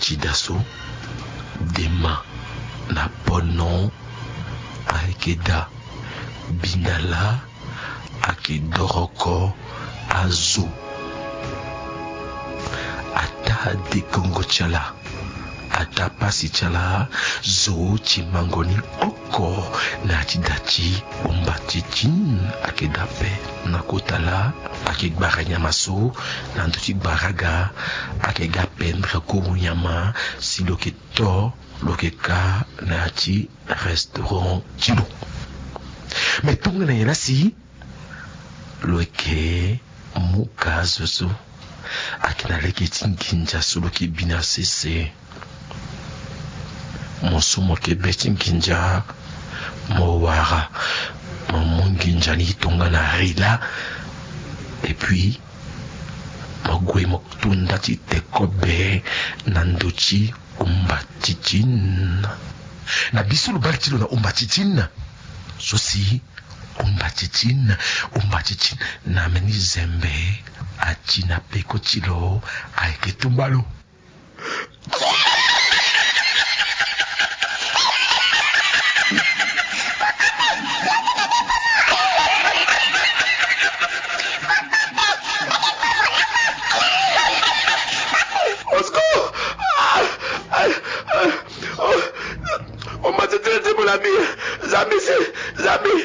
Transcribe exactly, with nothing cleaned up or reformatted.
ti da so, dema na pono ayeke daa. Bindala ayeke doroko azo. Ataa dekongo ti ala, ataa pasi ti ala, zo ti mango ni oko na ya ti da ti Umbatitine. Ayeke daa ape na kota laa, ayeke gbara nyama so na ndö ti gbara aga. Ayeke ga pendre kuru nyama si lo yeke to, lo yeke ka na ya ti restaurant ti lo. Me tongana nyen laa si lo yeke mu ka zo so? Ayeke na lege ti nginza so lo yeke bi na sese. Mo so mo yeke be ti nginza, mo wara, mo mu nginza ni tongana ri laa. Et puis mo gue mo to nda ti te kobe na ndö ti Umbatitine. Na bi so lo bale ti lo na Umbatitine so si Umbatitine, Umbatitine na mbeni zembe ati na peko ti lo, ayeke tumba lo.